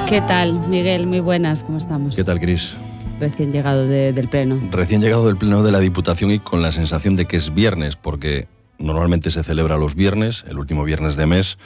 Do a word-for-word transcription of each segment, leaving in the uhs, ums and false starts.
¿Qué tal, Miguel? Muy buenas, ¿cómo estamos? ¿Qué tal, Cris? Recién llegado de, del pleno. Recién llegado del pleno de la Diputación y con la sensación de que es viernes, porque normalmente se celebra los viernes, el último viernes de mes,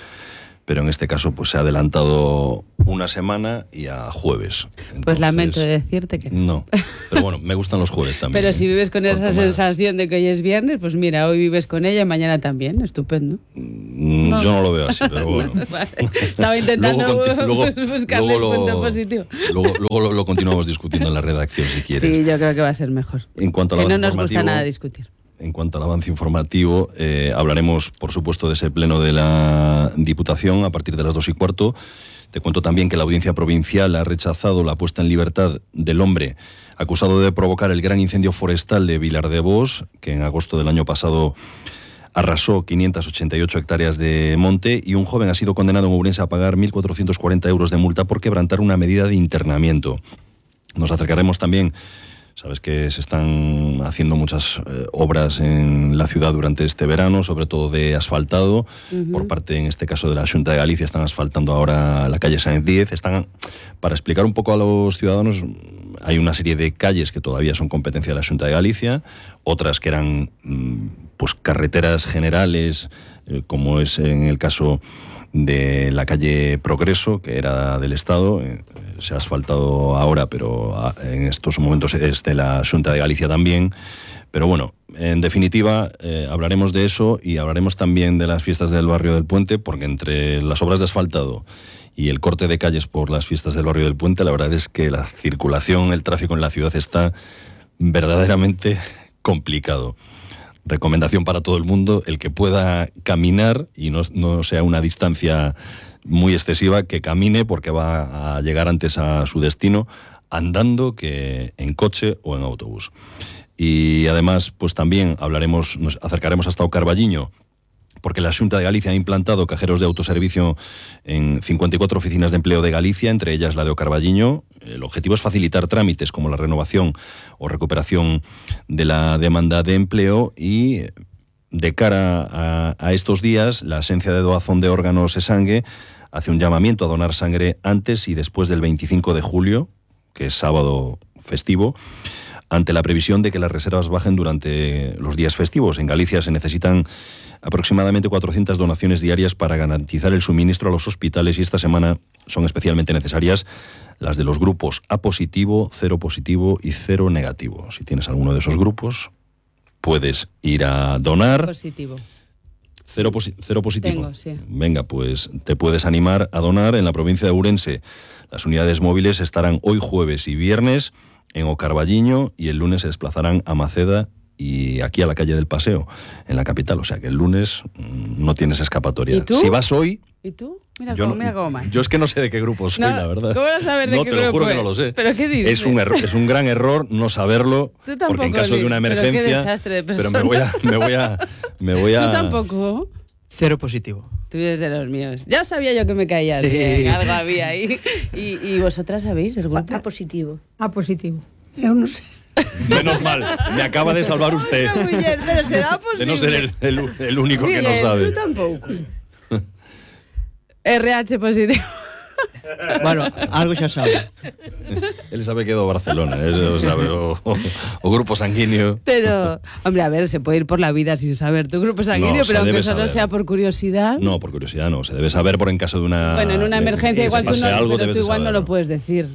pero en este caso pues se ha adelantado una semana y a jueves. Entonces, pues lamento decirte que no. Pero bueno, me gustan los jueves también. Pero si vives con esa más. sensación de que hoy es viernes, pues mira, hoy vives con ella y mañana también, estupendo. Mm, no. Yo no lo veo así, pero bueno. No, vale. Estaba intentando luego, luego, buscarle luego el punto lo, positivo. Luego, luego lo, lo continuamos discutiendo en la redacción, si quieres. Sí, yo creo que va a ser mejor. En cuanto a que no nos gusta nada discutir. En cuanto al avance informativo, eh, hablaremos, por supuesto, de ese pleno de la Diputación a partir de las dos y cuarto. Te cuento también que la Audiencia Provincial ha rechazado la puesta en libertad del hombre acusado de provocar el gran incendio forestal de Vilardebós, que en agosto del año pasado arrasó quinientas ochenta y ocho hectáreas de monte, y un joven ha sido condenado en Ourense a pagar mil cuatrocientos cuarenta euros de multa por quebrantar una medida de internamiento. Nos acercaremos también. Sabes que se están haciendo muchas eh, obras en la ciudad durante este verano, sobre todo de asfaltado. Uh-huh. Por parte, en este caso, de la Xunta de Galicia, están asfaltando ahora la calle Sáenz Díez. Están, para explicar un poco a los ciudadanos, hay una serie de calles que todavía son competencia de la Xunta de Galicia, otras que eran pues carreteras generales, eh, como es en el caso de la calle Progreso, que era del Estado. Eh, se ha asfaltado ahora, pero en estos momentos es de la Xunta de Galicia también. Pero bueno, en definitiva, eh, hablaremos de eso y hablaremos también de las fiestas del barrio del Puente, porque entre las obras de asfaltado y el corte de calles por las fiestas del barrio del Puente, la verdad es que la circulación, el tráfico en la ciudad está verdaderamente complicado. Recomendación para todo el mundo: el que pueda caminar y no, no sea una distancia muy excesiva, que camine, porque va a llegar antes a su destino andando que en coche o en autobús. Y además, pues también hablaremos, nos acercaremos hasta o Carballiño, porque la Xunta de Galicia ha implantado cajeros de autoservicio en cincuenta y cuatro oficinas de empleo de Galicia, entre ellas la de O Carballiño. El objetivo es facilitar trámites como la renovación o recuperación de la demanda de empleo, y de cara a, a estos días, la Asencia de Doazón de Órganos e Sangue hace un llamamiento a donar sangre antes y después del veinticinco de julio, que es sábado festivo, ante la previsión de que las reservas bajen durante los días festivos. En Galicia se necesitan aproximadamente cuatrocientas donaciones diarias para garantizar el suministro a los hospitales, y esta semana son especialmente necesarias las de los grupos A positivo, cero positivo y cero negativo. Si tienes alguno de esos grupos, puedes ir a donar. Positivo. Cero, posi- cero positivo. Tengo, sí. Venga, pues te puedes animar a donar en la provincia de Ourense. Las unidades móviles estarán hoy jueves y viernes en O Carballiño, y el lunes se desplazarán a Maceda y aquí a la calle del Paseo, en la capital. O sea que el lunes mmm, no tienes escapatoria. ¿Y tú? Si vas hoy... ¿Y tú? Mira yo cómo, no, mira cómo mal. Yo es que no sé de qué grupo soy, no, la verdad. ¿Cómo vas a saber de no, qué te grupo lo juro es? que no lo sé. ¿Pero qué dices? Es un, error, es un gran error no saberlo, Tú tampoco, porque en caso Luis, de una emergencia... Pero qué desastre de persona. Pero me voy a... Me voy a, me voy a ¿Tú tampoco? Cero positivo. Tú eres de los míos. Ya sabía yo que me caías sí. bien, algo había ahí. ¿Y, y vosotras sabéis el grupo? A positivo. A positivo. Eu non sei. Menos mal, me acaba de salvar usted. Ay, no, Miguel, pero será posible. De no ser el, el, el único Miguel, que no sabe. Tú tampoco. R H positivo. Bueno, algo xa sabe. Él sabe que é do Barcelona, eso sabe, o, o, o grupo sanguíneo. Pero, hombre, a ver, se puede ir por la vida sin saber tu grupo sanguíneo, No, pero aunque solo saber. sea por curiosidad. No, por curiosidad no, se debe saber por en caso de una... Bueno, en una emergencia de, igual tú, no, algo, pero tú igual saber, no lo puedes decir.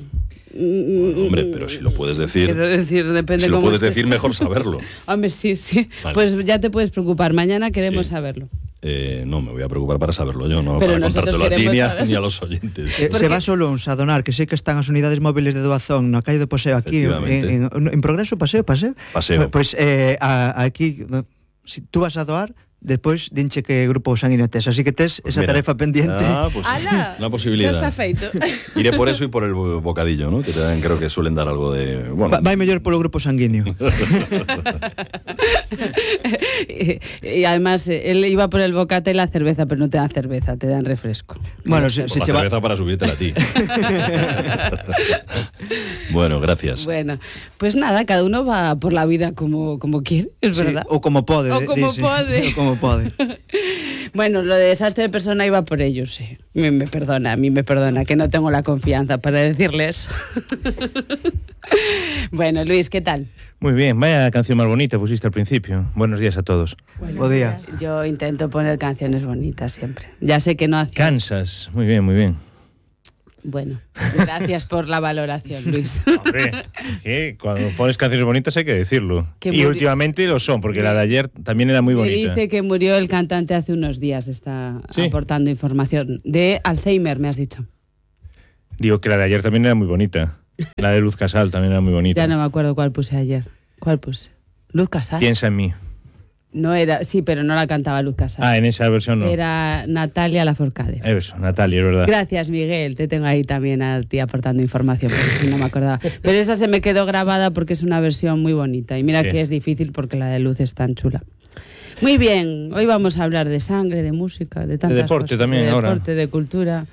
Bueno, hombre, pero si lo puedes decir... Quiero decir, depende si lo cómo puedes estés. decir, mejor saberlo. Hombre, sí, sí. Vale. Pues ya te puedes preocupar. Mañana queremos Sí. saberlo. Eh, no, me voy a preocupar para saberlo yo, no Pero para nosotros contártelo a ti queremos ni a, saberlo. ni a los oyentes. Eh, Porque- se va solo uns a donar, que sei que están as unidades móviles de doazón na calle do Paseo aquí, en, Efectivamente. en, en Progreso, Paseo, Paseo. Paseo. Pois pues, eh, a, aquí, no, si tú vas a doar, despois dinche que grupo sanguíneo tes, así que tes esa Mira. tarefa pendiente. Ah, pues ¡Hala! una posibilidad. Ya está feito. Iré por eso y por el bocadillo, ¿no? Que también creo que suelen dar algo de... Bueno, Va, vai mellor polo grupo sanguíneo. y, y además, eh, él iba por el bocata y la cerveza, pero no te dan cerveza, te dan refresco. Bueno, se, por se la che va... cerveza para subírtela a ti. Bueno, gracias. Bueno, pues nada, cada uno va por la vida como, como quiere, es Sí, verdad. ou como pode, O como dice. pode. O como como pode. Bueno, lo de desastre de persona iba por ellos, sí. Me, me perdona, a mí me perdona, que no tengo la confianza para decirle eso. Bueno, Luis, ¿qué tal? Muy bien, vaya canción más bonita pusiste al principio. Buenos días a todos. Buen día. Yo intento poner canciones bonitas siempre. Ya sé que no hace... Kansas, muy bien, muy bien. Bueno, gracias por la valoración, Luis. Hombre, que cuando pones canciones bonitas hay que decirlo. Que y muri- últimamente lo son, porque la de ayer también era muy Me bonita. dice que murió el cantante hace unos días, está Sí. aportando información. De Alzheimer, me has dicho. Digo que la de ayer también era muy bonita. La de Luz Casal también era muy bonita. Ya no me acuerdo cuál puse ayer. ¿Cuál puse? Luz Casal. Piensa en mí. No era, sí, pero no la cantaba Luz Casal. Ah, en esa versión no. Era Natalia Lafourcade. Eso, Natalia, es verdad. Gracias, Miguel. Te tengo ahí también a ti aportando información, porque si no me acordaba. Pero esa se me quedó grabada porque es una versión muy bonita. Y mira Sí. que es difícil porque la de Luz es tan chula. Muy bien, hoy vamos a hablar de sangre, de música, de tantas deporte cosas. también de ahora. deporte, de cultura.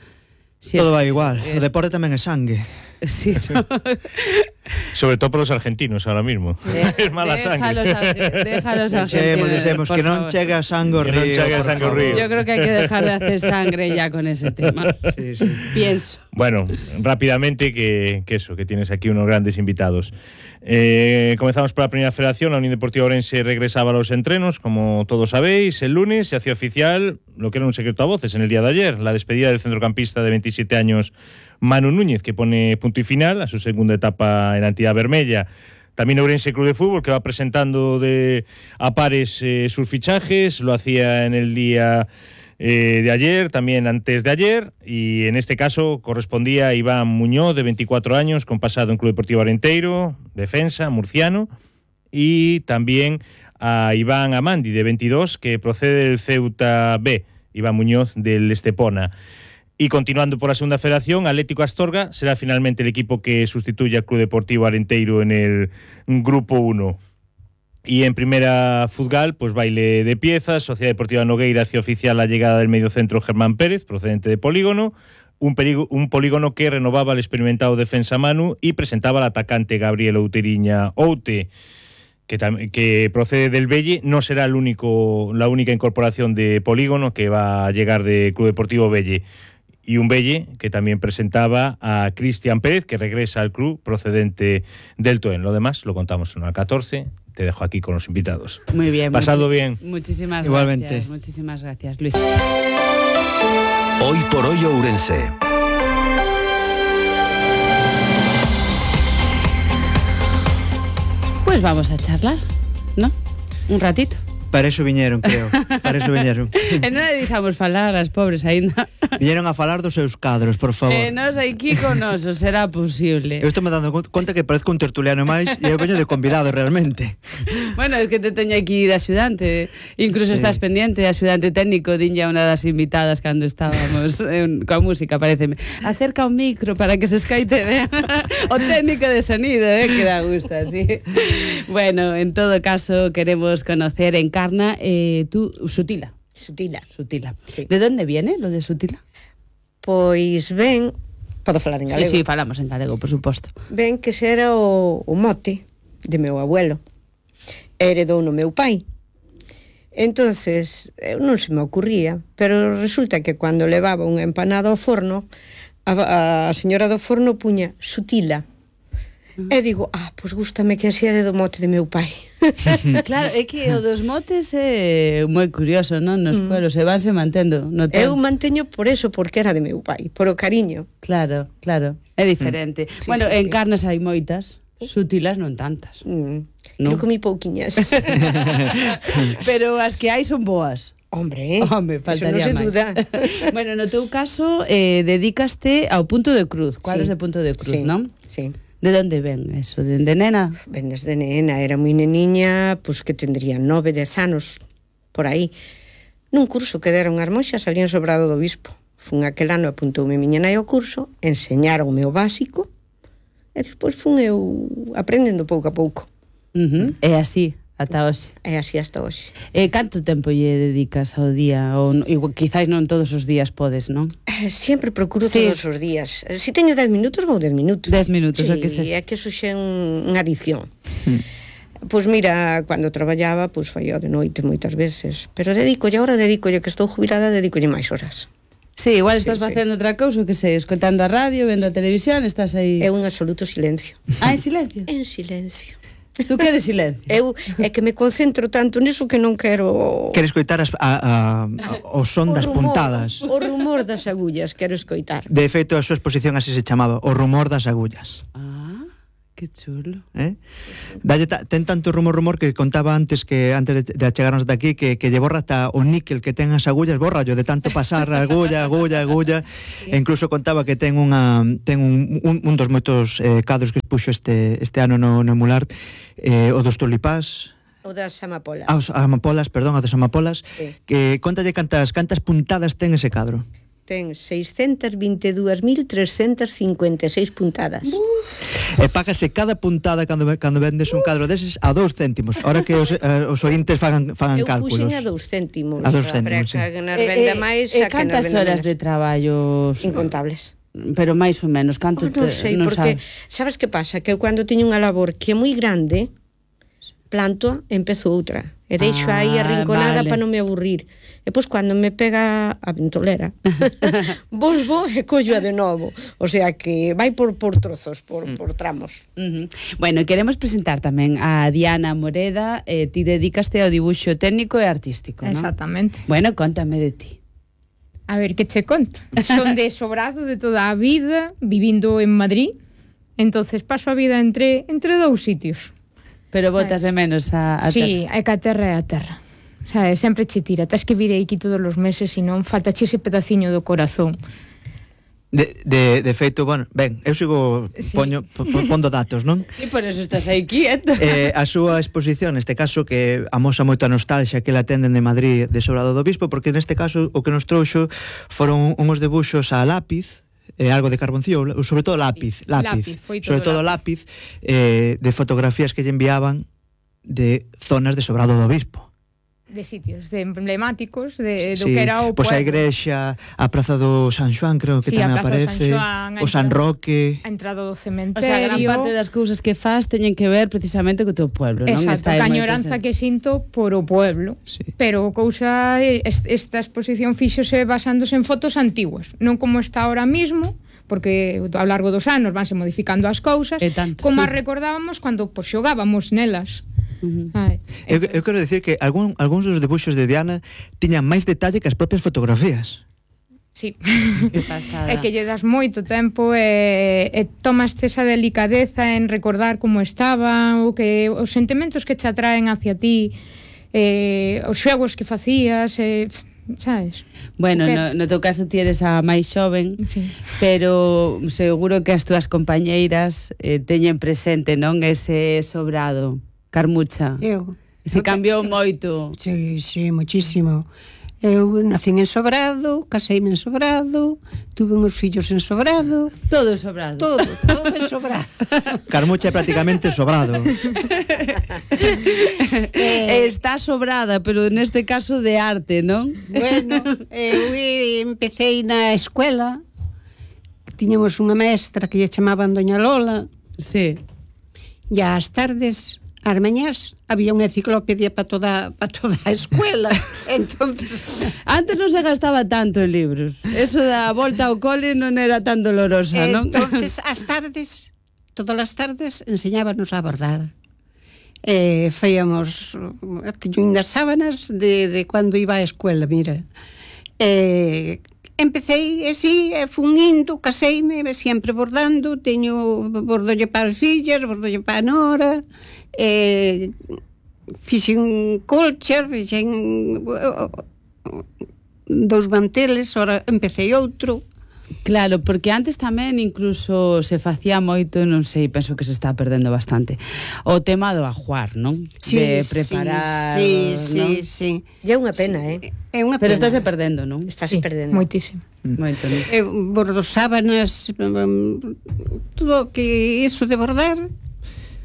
Sí, Todo es- va igual. es- O deporte tamén é sangue. Sí, Sobre todo por los argentinos ahora mismo. De- es mala déjalos sangre. a- déjalos a Dixemos, gente, dixemos por que non favor. chega a sangue ao Que non río. chegue a por sangue ao favor. río. Yo creo que hay que dejar de hacer sangre ya con ese tema. Sí, sí. Pienso. Bueno, rápidamente que, que eso, que tienes aquí unos grandes invitados. Eh, comenzamos por la primera federación. La Unión Deportiva Ourense regresaba a los entrenos, como todos sabéis, el lunes se hacía oficial lo que era un secreto a voces en el día de ayer, la despedida del centrocampista de veintisiete años Manu Núñez, que pone punto y final a su segunda etapa en la entidad vermella. También Ourense Club de Fútbol, que va presentando de, a pares eh, sus fichajes, lo hacía en el día eh, de ayer, también antes de ayer, y en este caso correspondía a Iván Muñoz, de veinticuatro años, con pasado en Club Deportivo Arenteiro, defensa, murciano, y también a Iván Amandi, de veintidós, que procede del Ceuta B, Iván Muñoz del Estepona. Y continuando por la segunda federación, Atlético Astorga será finalmente el equipo que sustituye al Club Deportivo Arenteiro en el Grupo uno. Y en primera futgal, pues baile de piezas. Sociedad Deportiva Nogueira hacía oficial la llegada del mediocentro Germán Pérez, procedente de Polígono, un, perigo, un Polígono que renovaba al experimentado defensa Manu y presentaba al atacante Gabriel Outeriña Oute, que, tam, que procede del Belle. No será el único, la única incorporación de Polígono que va a llegar de Club Deportivo Belle. Y un Belle que también presentaba a Cristian Pérez, que regresa al club procedente del Toen. Lo demás lo contamos en la catorce. Te dejo aquí con los invitados. Muy bien. Pasado muchi- bien. Muchísimas Igualmente. gracias. Muchísimas gracias, Luis. Hoy por hoy Ourense. Pues vamos a charlar, ¿no? Un ratito. Para eso viñeron, creo. Para eso viñeron. E non le deixamos falar as pobres aínda. Viñeron a falar dos seus cadros, por favor. E nos aquí con noso, será posible. Eu estou me dando conta que parezco un tertuliano máis e eu veño de convidado realmente. Bueno, es que te teño aquí de axudante. Incluso Sí. estás pendiente, axudante técnico, dinlle a unha das invitadas cando estábamos en, coa música, pareceme. Acerca o micro para que se escaite ben. O técnico de sonido, eh, que da gusto así. Bueno, en todo caso, queremos conocer en Encarna, eh, tú, Sutila. Sutila. Sutila. Sí. ¿De dónde viene lo de Sutila? Pois ben, podo falar en galego. Sí, sí, falamos en galego, por suposto. Ben que xera o, o mote de meu abuelo. Heredou no meu pai. Entonces, eu non se me ocurría, pero resulta que cando levaba unha empanada ao forno, a, a señora do forno puña Sutila. E digo, ah, pois gústame que así era do mote de meu pai. Claro, é que o dos motes é moi curioso, non? Nos pueblos se vanse mantendo. No Eu tempo. manteño por eso, porque era de meu pai, por o cariño. Claro, claro, é diferente. Sí, bueno, sí, en sí. carnes hai moitas, sutilas non tantas. Mm. Non? Eu comí pouquiñas. Pero as que hai son boas. Hombre, Home, eso faltaría non se máis. duda. Bueno, no teu caso, eh, dedícaste ao punto de cruz. Cuadros Sí. de punto de cruz, Sí, non? Sí. De onde ven eso? De, de nena? Ben desde nena, era moi neniña, pois que tendría nove, dez anos, por aí. Nun curso que deron as moxas ali en Sobrado do Bispo. Fun aquel ano, apuntoume miña nai ao curso, enseñaronme o básico, e despois fun eu aprendendo pouco a pouco. Uh -huh. É así, ata hoxe. E así hasta hoxe. E canto tempo lle dedicas ao día? Ou igual, quizáis non todos os días podes, non? Eh, Sempre procuro Sí. todos os días. Se teño dez minutos, vou dez minutos. Dez minutos, sí, o que sexa. é que eso xa é un, unha adición. Pois mira, cando traballaba, pois foi de noite moitas veces, pero dedicolle, ahora dedicolle que estou jubilada, dedicolle máis horas. Sí, igual estás Sí, sí. facendo outra cousa, que sei, escoitando a radio, vendo a televisión, estás aí... É un absoluto silencio. Ah, en silencio? En silencio. Tú queres silencio? Eu é que me concentro tanto niso que non quero... Queres coitar as, a, a, a, o son O das rumor, puntadas. O rumor das agullas, quero escoitar. De feito, a súa exposición así se chamaba, o rumor das agullas. Ah, que chulo. Eh? Dalle ta, ten tanto rumor rumor que contaba antes que antes de, de achegarnos de aquí que, que lle borra hasta o níquel que ten as agullas, borra yo de tanto pasar agulla, agulla, agulla. E incluso contaba que ten unha ten un, un, un dos moitos eh, cadros que expuxo este este ano no, no Emular, eh, o dos tulipás. O das amapolas. Ah, os amapolas, perdón, a dos amapolas, Sí. que contalle cantas cantas puntadas ten ese cadro. Ten seiscentas vinte e dúas mil trescentas cincuenta e seis puntadas. E págase cada puntada cando cando vendes un cadro deses a dous céntimos. Ahora que os, eh, os ointes fagan fagan Eu cálculos. puxen a dous céntimos. A dous céntimos, Para sí. que nos venda máis, e a que nos cantas venda horas menos. de traballo? Incontables. Pero máis ou menos, canto Oh, non te, sei, non porque sabes? sabes que pasa? Que eu cando teño unha labor que é moi grande, planto, empezo outra. E deixo Ah, aí arrinconada vale. para non me aburrir. E pois cando me pega a ventolera, volvo e collo a de novo. O sea que vai por, por trozos, por, por tramos. Uh -huh. Bueno, queremos presentar tamén a Diana Moreda, eh, ti dedicaste ao dibuixo técnico e artístico, non? Exactamente. Bueno, contame de ti. A ver, que che conto? Son de Sobrado de toda a vida, vivindo en Madrid. Entonces paso a vida entre entre dous sitios. Pero botas de menos a, a Sí, é que a terra é a terra. O sea, sempre che tira. Tens que vir aquí todos os meses, e non falta che ese pedaciño do corazón. De, de, de feito, bueno, ben, eu sigo Sí. poño, po, po- pondo datos, non? E por eso estás aí quieto. Eh, a súa exposición, neste caso, que amosa moito a nostalgia que la atenden de Madrid de Sobrado do Bispo, porque neste caso o que nos trouxo foron unhos debuxos a lápiz, eh, algo de carboncillo, sobre todo lápiz, lápiz, Lápiz, foi todo sobre todo lápiz, eh, de fotografías que lle enviaban de zonas de Sobrado do Bispo. De sitios de emblemáticos de, do Sí, que era o pois a pueblo. igrexa, a Praza do San Xoán, creo que Sí, a tamén Praza do San aparece, Xoán, a o San entrada- Roque. A entrada do O cementerio. sea, gran parte das cousas que faz teñen que ver precisamente co teu pueblo, non? Exacto, aí a moi añoranza presente. que sinto por o pueblo. Sí. Pero cousa est- esta exposición fíxose basándose en fotos antiguas, non como está ahora mismo, porque ao largo dos anos vanse modificando as cousas, E tanto. como as recordábamos cando pois, xogábamos nelas. Uh -huh. Ai, Eu, eu quero dicir que algún, algúns dos debuxos de Diana tiñan máis detalle que as propias fotografías. sí. Que pasada. É que lle das moito tempo e, e tomaste esa delicadeza en recordar como estaba, o que os sentimentos que che atraen hacia ti, eh, os xogos que facías, eh, sabes? Bueno, Ok. no, no teu caso ti eres a máis xoven, Sí. pero seguro que as túas compañeiras eh, teñen presente, non, ese Sobrado, Carmucha. Eu. Se cambiou moito. Sí, sí, muchísimo. Eu nacín en Sobrado, caseime en Sobrado, tuve uns fillos en Sobrado, Todo Sobrado. todo, todo en Sobrado. Carmucha é prácticamente Sobrado. Eh, Está sobrada, pero neste caso de arte, non? Bueno, eu empecé na escuela, tiñamos unha mestra que lle chamaban Doña Lola, Sí. e ás tardes, ás mañás, había unha enciclopedia para toda, para toda a escuela. Entonces, Antes non se gastaba tanto en libros. Eso da volta ao cole non era tan dolorosa, non? entonces ás tardes, todas as tardes, enseñábanos a bordar. Eh, fíamos as sábanas de, de cando iba á escuela, mira. Eh, empecé así, e fun indo, caseime, sempre bordando, teño bordolle para as fillas, bordolle para a nora, eh, fixen colchas, fixen dous manteles, ora empecé outro. Claro, porque antes tamén incluso se facía moito, non sei, penso que se está perdendo bastante, o tema do ajuar, non? De preparar, sí, non? sí, sí. E é unha pena, eh? É unha Pero pena. estáse perdendo, non? Estás Sí, perdendo. moitísimo. Moito, non? Eu bordo sábanas, um, todo que iso de bordar.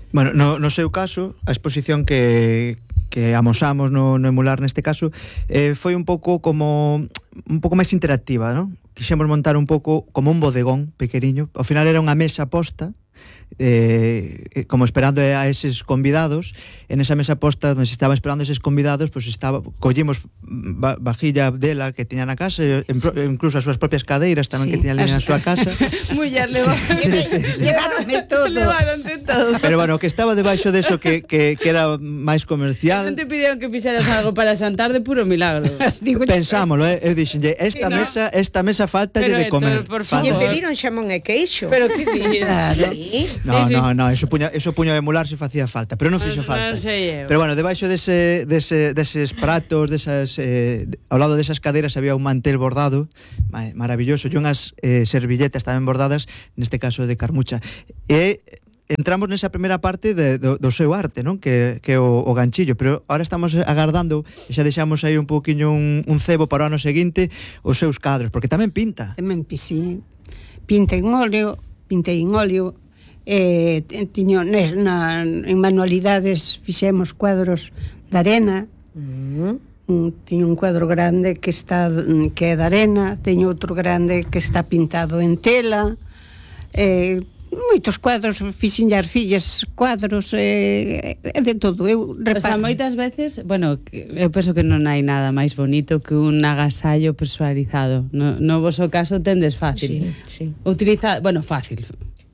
Bueno, no, no seu caso, a exposición que, que amosamos no, no Emular neste caso eh, foi un pouco como un pouco máis interactiva, non? Quixemos montar un pouco como un bodegón pequeniño. Ao final era unha mesa posta eh, como esperando a eses convidados. En esa mesa posta onde se estaba esperando eses convidados, pois pues estaba, collimos va, vajilla dela que tiña na casa, e, en, incluso as súas propias cadeiras tamén, sí, que tiña ali na súa casa. Muller, levaron sí, sí, sí, sí. Levaronme todo. Levaronte todo. Pero bueno, que estaba debaixo deso que, que, que era máis comercial. Non te pidieron que fixeras algo para xantar de puro milagro. Pensámolo, eh? Eu dixenlle, esta no. mesa, esta mesa faltalle de comer. Por Si lle favor. pediron xamón e queixo. Pero que dices? Claro. No, Sí, sí. no, no, eso puña, eso puño a emular se facía falta, pero non fixo Non falta. sei eu. Pero bueno, debaixo dese, dese, deses pratos, desas, eh, ao lado desas caderas había un mantel bordado, ma- maravilloso, e unhas eh, servilletas tamén bordadas, neste caso de carmucha. E entramos nesa primeira parte de, do, do seu arte, non? Que, que o, o ganchillo, pero ahora estamos agardando, e xa deixamos aí un pouquiño un, un cebo para o ano seguinte, os seus cadros, porque tamén pinta. Tamén pisí. Pinta en óleo, pintei en óleo, eh, tiño, nes, na, en manualidades fixemos cuadros de arena, Mm. un, teño un cuadro grande que está que é de arena, teño outro grande que está pintado en tela, eh, moitos cuadros, fixen as fillas cuadros, eh, é de todo. Eu O sea, reparo. moitas veces, bueno, que- eu penso que non hai nada máis bonito que un agasallo personalizado. No, no voso caso tendes fácil. Sí, sí. Utiliza, bueno, fácil.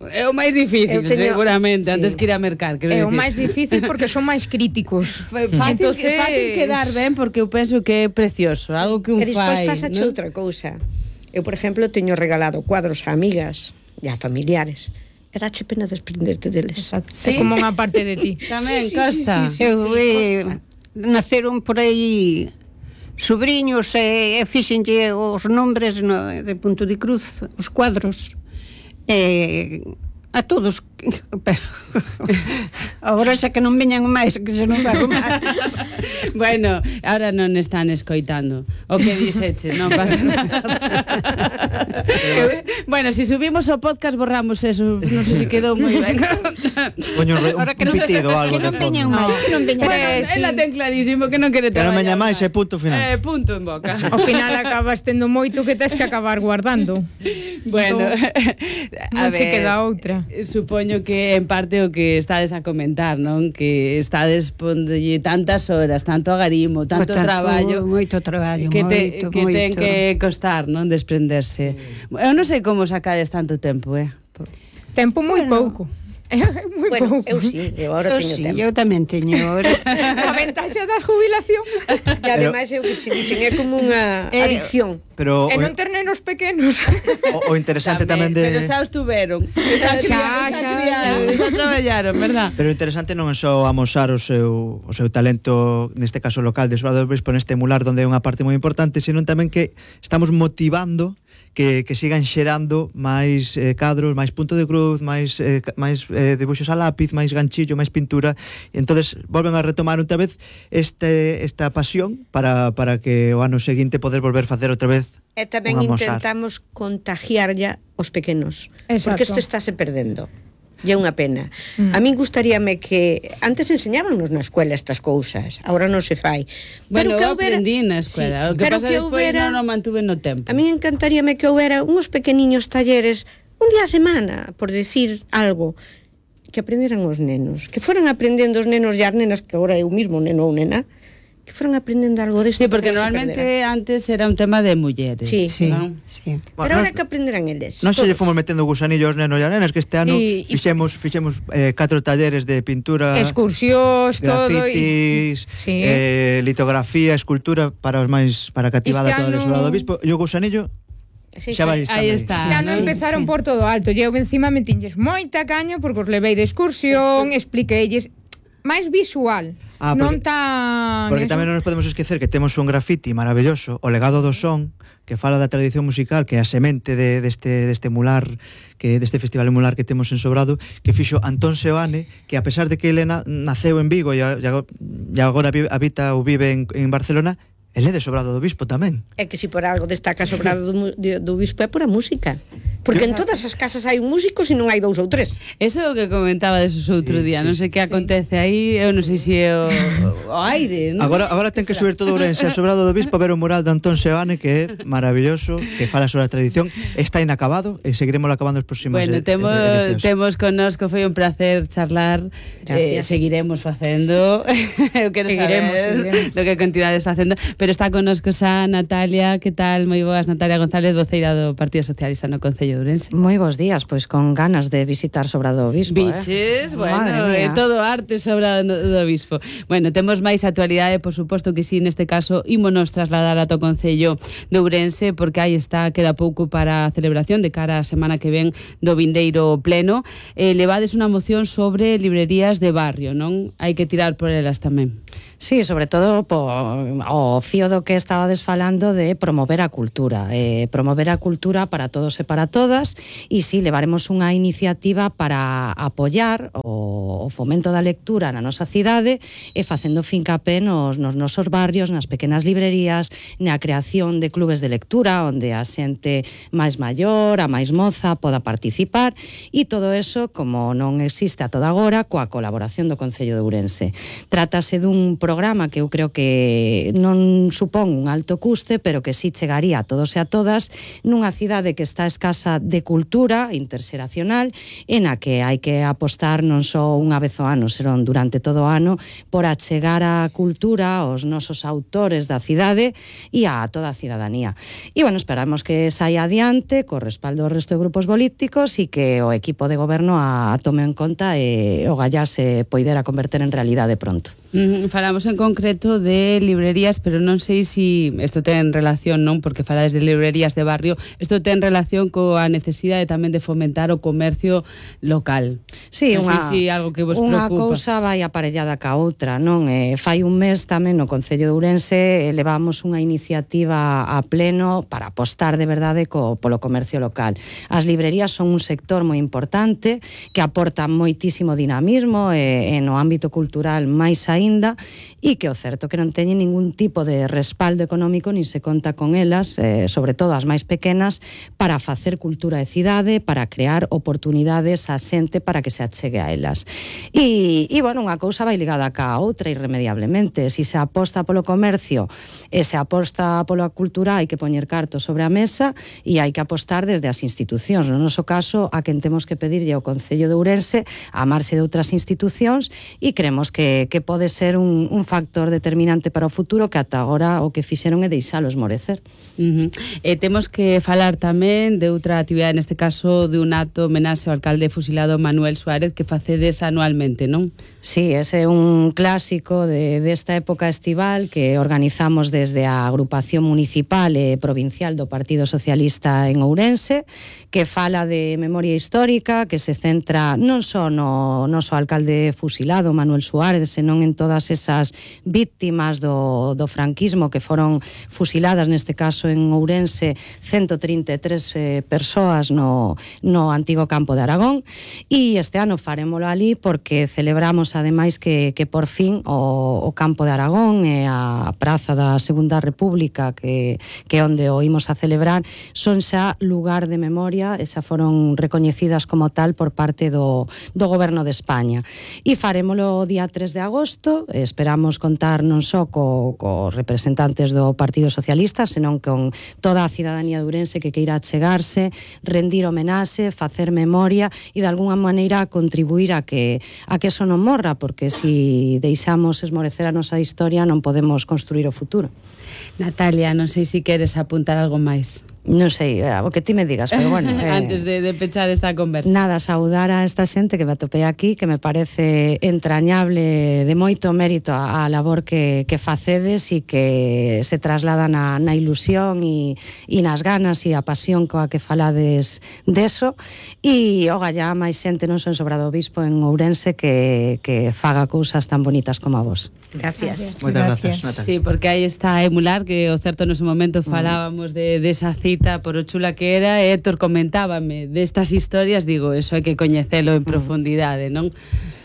É o máis difícil, Eu teño- seguramente, sí. antes que ir a mercar. É o máis difícil porque son máis críticos. Fácil, Entonces- fácil quedar ben porque eu penso que é precioso, algo que un E despois fai, pasache ¿no? outra cousa. Eu, por exemplo, teño regalado cuadros a amigas e a familiares. E dache pena desprenderte deles. É como unha parte de ti. Tamén, Costa. Eu, eh, naceron por aí sobrinhos e, e fixenlle os nombres no, de punto de cruz, os cuadros, eh, a todos, pero agora xa que non veñan máis, que se non fago máis. Bueno, ahora non están escoitando o que dixeche, non pasa nada. Bueno, si subimos o podcast borramos eso, non sei se quedou moi ben. Poño un, re- un, Ahora que un non- pitido, algo que de non veñan fondo. máis, que non veñan Bueno, máis. ela ten clarísimo que non quere Que non traballar veña máis, é punto final. Eh, punto en boca. Ao final acabas tendo moito que tes que acabar guardando. Bueno, a Non che ver, queda outra. supoño que en parte o que estades a comentar, non? Que estades pondolle tantas horas, tanto agarimo, tanto Tanto- traballo, moito traballo, que, te, moito, que ten moito. que costar, non? Desprenderse. Eu non sei como sacades tanto tempo, eh? Tempo moi Bueno. pouco. É moi Bueno, pouco. eu sí, eu agora Eu teño sí, tempo. eu tamén teño. Ahora. A ventaxa da jubilación E ademais é o que che dixen, é como unha Eh, adicción. Pero é o, non ter nenos pequenos. o, o interesante tamén, de... Pero xa os tuveron. Xa, Xa, xa, xa, xa traballaron, verdad? Pero o interesante non é só amosar o seu, o seu talento, neste caso local de Sobrado do Bispo, neste emular onde é unha parte moi importante, senón tamén que estamos motivando que, que sigan xerando máis eh, cadros, máis punto de cruz, máis, eh, ca- máis eh, debuxos a lápiz, máis ganchillo, máis pintura, e entonces volven a retomar outra vez este, esta pasión para, para que o ano seguinte poder volver facer outra vez E tamén un amosar. intentamos contagiar ya os pequenos. Exacto. Porque isto estáse perdendo. E é unha pena. Mm. A min gustaríame que antes enseñábanos na escuela estas cousas, agora non se fai. Bueno, que eu aprendí na escuela. Sí, O que pero pasa que despois houbera- non o mantuve no tempo. A mí encantaríame que houbera uns pequeniños talleres un día a semana, por decir algo, que aprenderan os nenos, que foran aprendendo os nenos e as nenas, que agora é o mismo neno ou nena, que foran aprendendo algo desto. Sí, porque non se normalmente perderá. antes era un tema de mulleres. Sí, Sí, ¿no? sí. Pero Bueno, ahora nos- que aprenderán eles. Non se lle todos. fomos metendo gusanillo aos nenos e as nenas, que este ano Y- y- fixemos, fixemos eh, catro talleres de pintura, Excursións, todo. E... grafitis, Sí. eh, litografía, escultura para os máis para a cativada Este toda de ano- Sobrado do Bispo, e o gusanillo Sí, xa sí. vai estar Aí está. Este ano Sí, empezaron sí. por todo alto. E eu encima metinlles moita caña porque os levei de excursión, expliqueilles máis visual. Ah, non porque- tan... Porque eso. tamén non nos podemos esquecer que temos un grafiti maravilloso, o legado do son, que fala da tradición musical, que é a semente de, deste, deste mular, que deste festival mular que temos en Sobrado, que fixo Antón Seoane, que a pesar de que ele na, naceu en Vigo e, a- e agora- e agora vi- habita ou vive en, en Barcelona, ele é de Sobrado do Bispo tamén. É que si por algo destaca Sobrado do, mu- de- do Bispo é por a música. Porque en todas as casas hai un músico se non hai dous ou tres. Eso é o que comentaba desos outro Sí, día, sí, non sei que acontece aí, eu non sei se é o, o aire, non? Agora, agora ten que subir todo Ourense a Sobrado do Bispo a ver o mural de Antón Seoane, que é maravilloso, que fala sobre a tradición, está inacabado e seguiremos acabando os próximos Bueno, e- temos, edicións. temos connosco, foi un placer charlar. Eh, Gracias. seguiremos facendo. Eu quero Seguiremos, saber seguiremos. do que continuades facendo, pero está connosco xa Natalia, que tal? Moi boas, Natalia González, voceira do Partido Socialista no Concello de Ourense. Moi bons días, pois con ganas de visitar Sobrado do Bispo. Biches, eh? bueno, Madre é mía. todo arte sobre do, do Bispo. Bueno, temos máis actualidade, por suposto que sí, neste caso ímonos trasladar a to Concello de Ourense, porque aí está, queda pouco para a celebración de cara a semana que ven do vindeiro pleno. Eh, levades unha moción sobre librerías de barrio, non? Hai que tirar por elas tamén. Sí, sobre todo po, o fío do que estabades falando de promover a cultura, eh, promover a cultura para todos e para todas, e sí, levaremos unha iniciativa para apoiar o, o fomento da lectura na nosa cidade e facendo fincapé nos, nos nosos barrios, nas pequenas librerías, na creación de clubes de lectura onde a xente máis maior, a máis moza poda participar, e todo eso, como non existe a toda agora, coa colaboración do Concello de Ourense. Trátase dun programa que eu creo que non supón un alto custe, pero que sí chegaría a todos e a todas nunha cidade que está escasa de cultura interxeracional, en a que hai que apostar non só unha vez ao ano, serón durante todo o ano, por achegar a cultura aos nosos autores da cidade e a toda a cidadanía. E, bueno, esperamos que saia adiante, co respaldo do resto de grupos políticos, e que o equipo de goberno a, a tome en conta e o gallá se poidera converter en realidade pronto. Mm, falamos en concreto de librerías, pero non sei se si isto ten relación, non? Porque falades de librerías de barrio, isto ten relación coa necesidade tamén de fomentar o comercio local. Sí, non unha, sei se algo que vos unha preocupa. cousa vai aparellada ca outra, non? Eh, fai un mes tamén no Concello de Ourense eh, levamos unha iniciativa a pleno para apostar de verdade co, polo comercio local. As librerías son un sector moi importante que aporta moitísimo dinamismo e, e no ámbito cultural máis aínda, e que o certo que non teñen ningún tipo de respaldo económico nin se conta con elas, eh, sobre todo as máis pequenas, para facer cultura de cidade, para crear oportunidades a xente para que se achegue a elas. E, e bueno, unha cousa vai ligada ca outra irremediablemente. Si se aposta polo comercio e se aposta pola cultura, hai que poñer cartos sobre a mesa e hai que apostar desde as institucións. No noso caso, a quen temos que pedirlle ao Concello de Ourense a marxe de outras institucións, e creemos que, que pode ser un, un factor determinante para o futuro, que ata agora o que fixeron é deixalo esmorecer. Uh -huh. E temos que falar tamén de outra actividade, neste caso de un acto homenaxe ao alcalde fusilado Manuel Suárez, que facedes anualmente, non? Sí, ese é un clásico de, desta época estival que organizamos desde a agrupación municipal e provincial do Partido Socialista en Ourense, que fala de memoria histórica, que se centra non só no noso alcalde fusilado Manuel Suárez, senón en todas esas víctimas do, do franquismo que foron fusiladas, neste caso en Ourense, ciento trinta e tres eh, persoas no, no antigo campo de Aragón, e este ano farémolo ali porque celebramos ademais que, que por fin o, o campo de Aragón e a praza da Segunda República, que, que onde o imos a celebrar, son xa lugar de memoria e xa foron recoñecidas como tal por parte do, do goberno de España. E farémolo o día tres de agosto, esperamos contar non só co, co representantes do Partido Socialista, senón con toda a cidadanía de Ourense que queira achegarse, rendir homenaxe, facer memoria e de alguna maneira contribuir a que a que eso non morra, porque si deixamos esmorecer a nosa historia non podemos construir o futuro. Natalia, non sei se queres apuntar algo máis. Non sei, o que ti me digas, pero bueno. Eh, Antes de, de pechar esta conversa. Nada, saudar a esta xente que me atopei aquí, que me parece entrañable, de moito mérito a, a labor que, que facedes e que se traslada na, na ilusión e, e nas ganas e a pasión coa que falades deso. E o gallá máis xente non son Sobrado Bispo en Ourense que, que faga cousas tan bonitas como a vos. Gracias. Moitas gracias, Natalia. Sí, porque aí está a emular, que o certo nese momento falábamos de, de esa cita por o chula que era, e Héctor comentábame destas historias, digo, eso hai que coñecelo en profundidade, non?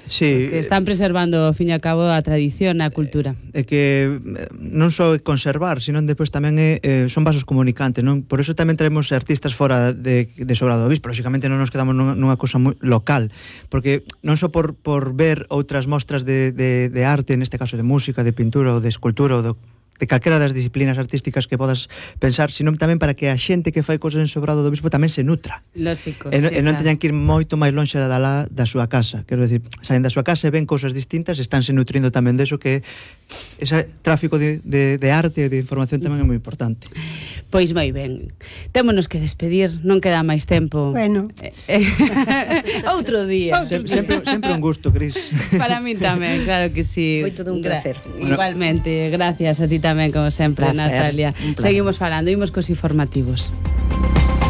Sí, que están preservando, ao fin e ao cabo, a tradición e a cultura. É que non só é conservar, sino despois tamén é, eh, son vasos comunicantes, non? Por eso tamén traemos artistas fora de, de Sobrado do Obispo. Lóxicamente non nos quedamos nunha, nunha cousa moi local, porque non só por, por ver outras mostras de, de, de arte, neste caso de música, de pintura ou de escultura ou de de calquera das disciplinas artísticas que podas pensar, sino tamén para que a xente que fai cosas en Sobrado do Obispo tamén se nutra. Lógico, e, sí, e non claro. teñan que ir moito máis lonxe da, la, da súa casa. Quero dicir, saen da súa casa e ven cousas distintas, estánse nutrindo tamén deso, que ese tráfico de, de, de arte e de información tamén é moi importante. Pois moi ben. Témonos que despedir, non queda máis tempo. Bueno. Eh, eh, outro día. Sem, sempre, sempre un gusto, Cris. Para min tamén, claro que sí. Foi todo un placer. Igualmente, gracias a ti tamén, como sempre, Placer, Natalia. un placer. Seguimos falando, imos cos informativos.